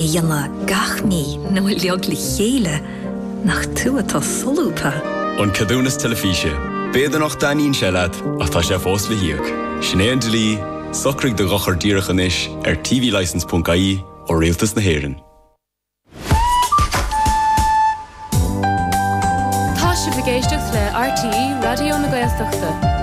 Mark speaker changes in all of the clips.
Speaker 1: A dhéanamh gach mí nó uilig le chéile, nach tú atá solúbtha?
Speaker 2: An Ceadúnas Teilifíse. B'fhéidir nach dtaitníonn sé leat, ach tá sé fós le híoc. Sin é an dlí, socraigh do dhochar díreach anois ar tvlicence.ie ó Rialtas na hÉireann.
Speaker 3: Tá sibh ag éisteacht le RTÉ Raidió na Gaeltachta.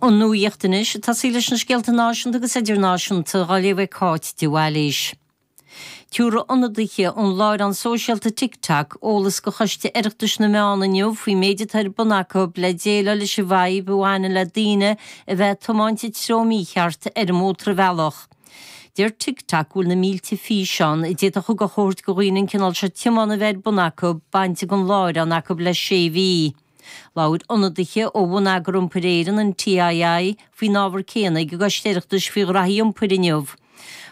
Speaker 4: An nuacht anois, ag tosaí leis na scéalta náisiúnta agus idirnáisiúnta, á léamh ag Cáit de Bhailís. Tabharfaidh ionadaithe ón láithreán sóisialta TikTok eolas do Choiste Oireachtais na Meán inniu faoin méid atá ar bun acu le déileáil leis an bhfadhb a bhaineann le daoine a bheith ag tiomáint i dtreo mícheart ar an mótarbhealach. Deir TikTok go bhfuil na mílte físeán, a d'fhéadfadh a thabhairt do dhaoine an cineál seo tiomána a bheith ar bun acu, bainte den láithreán acu le sé mhí. Labhair ionadaithe ó Bhonneagar Iompair Éireann, an TII, faoin ábhar céanna ag an gCoiste Oireachtais faoi Ghraithí Iompair inniu.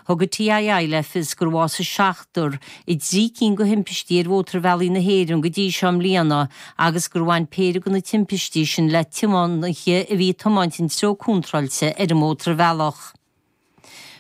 Speaker 4: Thug an TII le fios gur bhásaigh seachtar i dtrí cinn de thimpistí ar mhótarbhealaí na hÉireann go dtí seo i mbliana agus gur bhain péire de na timpistí sin le tiománaithe a bhí ag tiomáint an treo contráilte ar an mótarbhealach.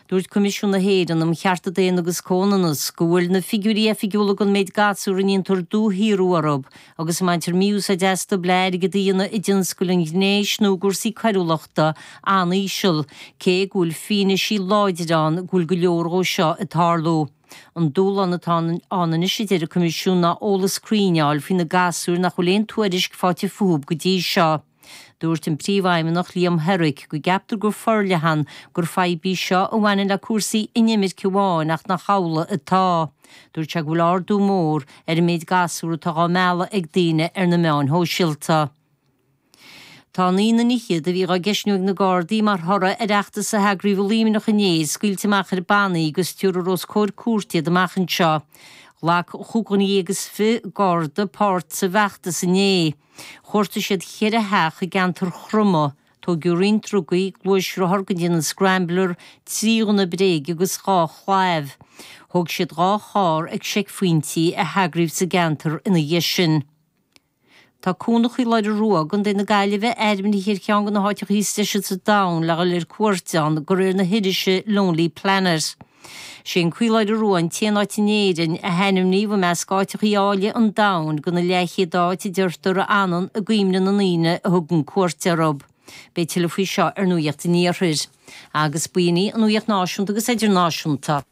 Speaker 4: Dúirt Coimisiún na hÉireann um Chearta Daonna agus Comhionannas go bhfuil na figiúirí oifigiúla den méid gasúr a ndéantar dúshaothrú orthu agus a mbaintear mí-úsáid astu le airgead a dhéanamh i dtionscail an ghnéis nó i gcúrsaí coiriúlachta an-íseal, cé go bhfuil fianaisí láidir ann go bhfuil go leor dhó seo ag tarlú. An dúshlán atá ann anois, a deir an Coimisiún, ná eolas cruinn a fháil faoi na gasúir nach bhfuil aon tuairisc faighte fúthu go dtí seo. Dúirt an Príomhfheidhmeannach Liam Herrick go gceaptar go forleathan gur fadhb í seo a bhaineann le cúrsaí inimirce amháin ach nach amhlaidh atá. Dúirt sé go bhfuil ardú mór ar an méid gasúr atá dhá mealladh ag daoine ar na meáin shóisialta. Tá naoi nduine fhichead a bhí dhá gceistniú ag na Gardaí mar thoradh ar fheachtas a heagraíodh i Luimneach inné scaoilte amach ar bannaí agus tabharfar os comhair cúirte iad amach anseo. Ghlac 25 Garda páirt sa bhfeachtas inné. Chuartaigh siad cheithre theach i gceantar Chromtha, tóigeadh roinnt drugaí, gluaisrothar den déanamh Scrambler, 3 ghunna bréige agus 2 chlaíomh. Thóg siad 2 charr ag seicphointí a heagraíodh sa gceantar ina dhiaidh sin. Tá Cuan an Chaoláire Rua i gContae na Gaillimhe ainmnithe ar cheann de na háiteacha is deise sa domhan le dhul ar cuairt ann de réir na hirise Lonely Planet. Sé an Caoláire Rua an t-aon áit in Éirinn a hainmníodh i measc áiteachaí áille an domhain de na leathchéad áit a deirtear a fhanann i gcuimhne na ndaoine a thugann cuairt orthu. Beidh tuilleadh faoi seo ar Nuacht an Iarthair. Agus b'in í an Nuacht Náisiúnta agus Idirnáisiúnta.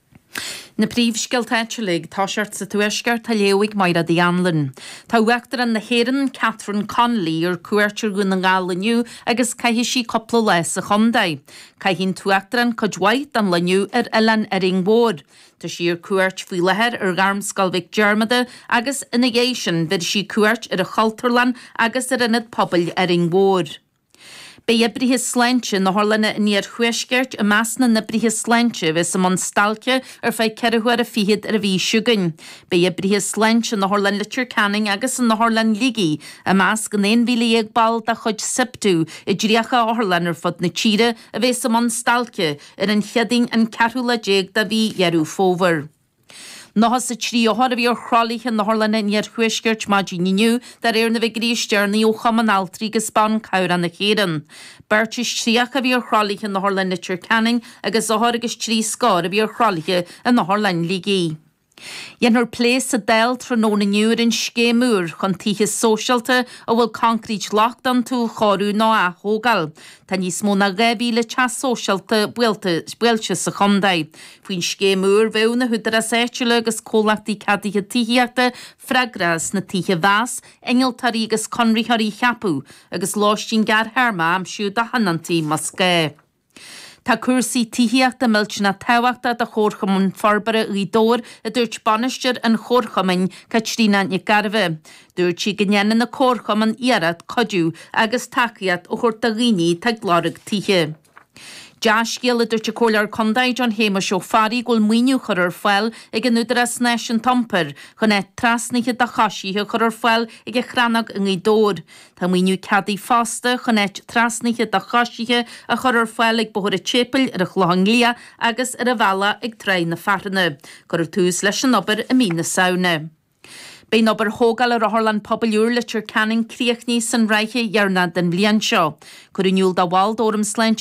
Speaker 5: Na príomhscéalta áitiúla ag toiseacht sa Tuaisceart á léamh ag Mairéad Uí Anluain. Tá Uachtarán na hÉireann, Catherine Connolly, ar cuairt ar Dhún na nGall inniu agus caithfidh sí cúpla lá sa chontae. Caithfidh an tUachtarán cuid mhaith den lá inniu ar Oileán Árainn Mhór. Tá sí ar cuairt faoi láthair ar Ghairmscoil Mhic Diarmada agus ina dhiaidh sin bhéarfaidh sí cuairt ar an Chultúrlann agus ar Ionad Pobail Árainn Mhór. Beidh oibrithe sláinte in otharlanna an iarthuaiscirt i measc na n-oibrithe sláinte a bheas i mbun stailce ar feadh ceithre huaire fichead ar an mhí seo chugainn. Beidh oibrithe sláinte in Otharlann Leitir Ceanainn agus in Otharlann Shligigh i measc an 11,000 ball de chuid Siptu i dtríocha otharlann ar fud na tíre a bheas i mbun stailce ar an Chéadaoin an ceathrú lá déag de mhí Dheireadh Fómhair. 93 othar a bhí ar thralaithe in otharlanna an iarthuaiscirt maidin inniu de réir na bhfigiúirí is deireanaí ó Chumann Altraí agus Ban Cabhrach na hÉireann. Beirt is 30 a bhí ar thralaithe in Otharlann Leitir Ceanainn agus othar agus trí scór a bhí ar thralaithe in Otharlann Shligigh. Déanfar plé sa Dáil tráthnóna inniu ar an scéim úr chun tithe sóisialta a bhfuil concrete locht iontu a chóiriú nó a ath-thógáil. Tá níos mó ná 2,000 teach sóisialta buailte sa chontae. Faoin scéim úr bheadh na húdaráis áitiúla agus comhlachtaí ceadaithe tithíochta freagrach as na tithe a mheas, innealtóirí agus conraitheoirí a cheapadh agus lóistín gearrthéarma a aimsiú do thionóntaí más gá. Tá cúrsaí tithíochta millteanach tábhachtach do Chomharchumann Forbartha Ghaoth Dobhair, a dúirt bainisteoir an chomharchumainn, Caitríona Nic Gairbheith. Dúirt sí go ndéanann an comharchumann iarracht cuidiú agus tacaíocht a thabhairt do dhaoine atá ag lorg tithe. Dea-scéal, a dúirt an Comhairleoir Contae John Shéamuis Ó Fearraigh go bhfuil maoiniú curtha ar fáil ag an Údarás Náisiúnta Iompair chun áit trasnaithe do choisithe a chur ar fáil ag an Chrannóg i nGaoth Dobhair. Tá maoiniú ceadaithe fosta chun áit trasnaithe do choisithe a chur ar fáil ag Bóthar an tSéipéil ar an Chlochán Liath agus ar an bhealach ag Tráigh na Fearthanna. Cuirfear tús leis an obair i mí na Samhna. Beidh an obair thógála ar Otharlann Pobail úr Leitir Ceanainn críochnaithe san ráithe dheireanach den bhliain seo. Cuireadh in iúl do bhaill d'Fhóram Sláinte.